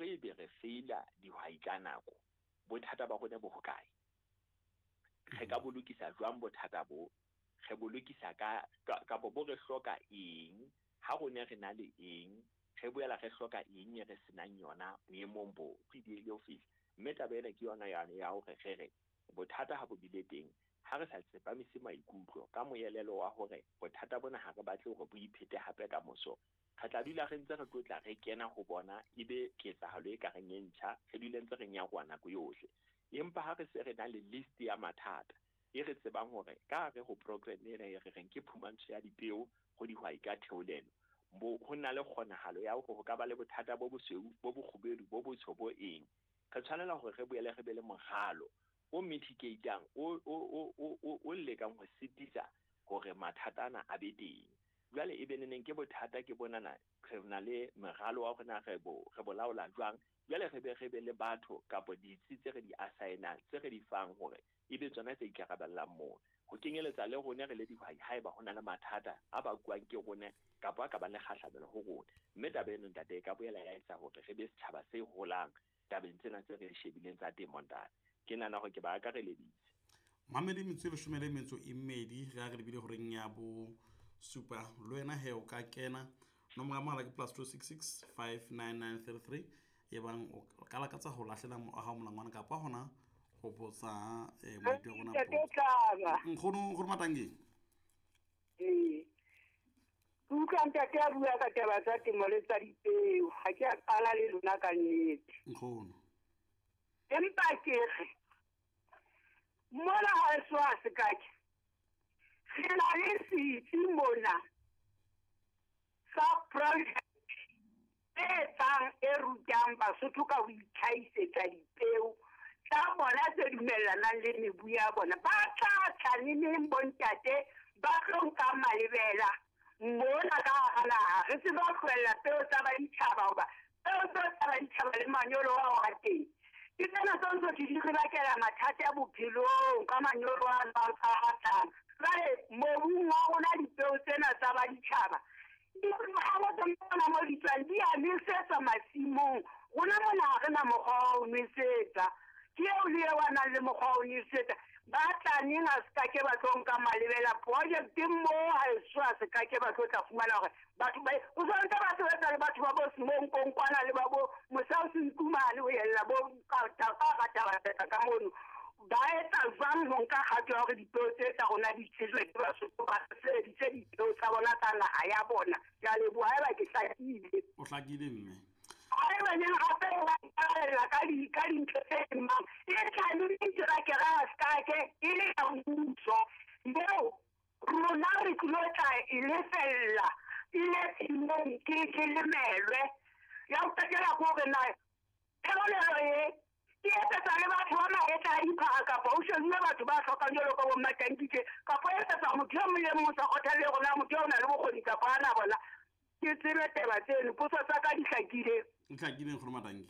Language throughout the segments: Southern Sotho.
Hore ebe re feila dihwai ka nako, bothata ba rona bo hokae? Re ka bo lokisa jwang bothata bo? Re bo lokisa ka kapa bo re hloka eng? Ha rona re na le eng? Re boela re hloka eng e re senang yona boemong bo? Ke diehile ho fihla. Mme taba ena ke yona yane ya hore re re bothata ha bo bile teng, ha re sa tsepamise maikutlo ka moelelo wa hore bothata bona ha re batle hore bo iphete hape ka moso, re tla dula re ntse re tlotla re kena ho bona ebe ketsahalo e ka reng e ntjha, re dule ntse re nyaroha nako yohle. Empa ha re se re na le list ya mathata e re tsebang hore ka hare ho program ena e re reng ke phumantsho ya dipeo ho dihwai ka theolelo, bo ho na le kgonahalo ya hore ho ka ba le bothata bo bosweu, bo bokgubedu, bo botsho, bo eng. Re tshwanela hore re boele re be le moralo o mitigate-ang, o lekang ho sitisa hore mathata ana a be teng. Jwale e be neneng ke bothata ke bonana re na le meralo wa hore na re bo re bo laola jwang. Jwale re be re be le batho kapa ditsi tse re di assign-ang, tse re di fang hore e be tsona tse ikarabellang moo. Ho kenyeletsa le rona re le dihwai haeba ho na le mathata a bakuwang ke rona kapa a ka bang le kgahlamelo ho rona. Mme taba eno ntate e ka boela ya etsa hore re be setjhaba se holang tabeng tsena tse re shebileng tsa temo ntate. Ke nahana hore ke ba akareleditse. Mamedi metso e leshome le metso e mmedi re a re lebile horeng ya bo supa. Le wena he o ka kena nomoro ya mohala ke +266 599 33 e bang o ka lakatsa ho lahlela wa hao molangwana kapa hona ho botsa moeti wa rona Ntate potso. Tlaba. Nkgono, nkgono Matangeng. Ee. Ke utlwa ntate a bua ka taba tsa temo le tsa dipeo. Ha ke a qala le lona ka nnete. Nkgono. Empa ke re, mona ha eso ha se ka ke. Re na le setsi mona sa project e etsang e rutang Basotho ka ho itlhahisetsa dipeo tsa bona tse dumellanang le mebu ya bona. Ba tla tla neneng bontate ba tlo nka malebela mona ka hara naha. Re tsebe ho tlohella peo tsa baditjhaba hoba peo tseo tsa baditjhaba le manyolo ao a teng. Ke tsena tse ntse di re bakela mathata a bophelong ka manyolo a a tlang. Jwale mobung wa rona dipeo tsena tsa baditjhaba ha tsona mo di tswang di a nwesetswa masimong. Rona mona ha re na mokgwa wa ho nwesetsa. Ke eo le eo a nang le mokgwa wa ho nwesetsa. Ba tla neng a se ka ke ba tlo nka malebela project mo ha eso a se ka ke ba tlo tla fumana hore batho ba o santse ba sebetsa le batho ba bo Simong Konkwana le ba bo Mosau Senkumane ho yella bo ka ka ka taba ka mono. Ba etsa jwang ho nka kgato ya hore dipeo tse tsa rona di tsejwe ke Basotho ba sebedise dipeo tsa bona tsa naha ya bona. Ke a leboha haeba ke hlakile. O hlakile mme. Haeba neng hape ba ikarabella ka di ka dintho tse mang, e tla le diterekere a se ke e le ya mmuso. Moo rona re tlilo tla e lefella e le tshimong ke lemelwe. Ya ho qetela ke hore na theolelo e ke etsetsa le batho ba mahetla a diphaka kapa ho shebuwe batho ba hlokang jwalo ka bo Mmatankitje kapa e etsetsa motho e mong le mong o sa kgothalle hore na motho eo o na le bokgoni kapa hana bona. Ke tsebe taba tseno, potso tsa ka di hlakile. Di hlakile nkgono Matangi.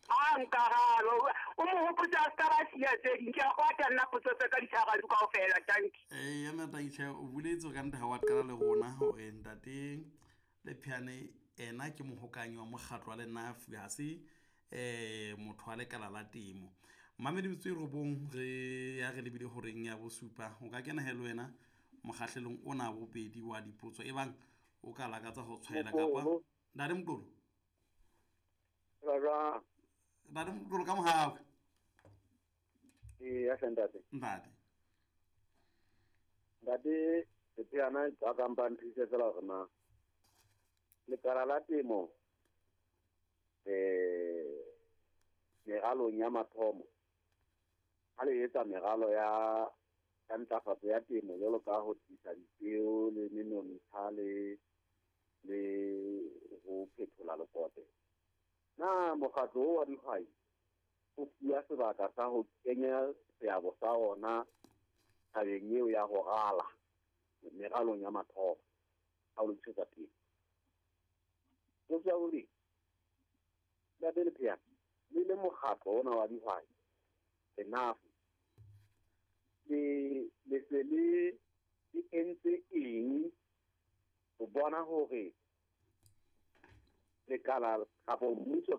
Ha nkarabo. O mo hopotse a ska ba siya tse ding. Ke a kwata nna potso tsa ka di tshwarang kaofela, tanki. Eh, ya Matangi tjhe, o boletse ka nnete ha wa qala le rona hore ntate Lepheane ena ke mohokanyi wa mokgatlo wa Lenafu, ha se motho wa lekala la temo. Mamedi metso e robong re ya re lebile horeng ya bosupa. O ka kena he le wena mokgahlelong ona bobedi wa dipotso e bang o ka lakatsa ho tshwaela kapa Ntate Moqolo. Ra Ntate Moqolo ka mohau. Ee, ya hle ntate. Ntate. Ntate Lepheana a ka mpa nthuse fela hore na lekala la temo meralong ya mathomo ha le etsa meralo ya ntlafatso ya temo jwalo ka ho tlisa dipeo le menontsha le ho phethola lekote, na mokgatlo o wa dihwai o fuwa sebaka sa ho kenya seabo sa ona tabeng eo ya ho rala meralong ya mathomo ha o lokisetsa pele? Potso ya bobedi, Ntate Lepheana, le le mokgatlo ona wa dihwai Lenafu, le se le entse eng ho bona hore lekala kapa mmuso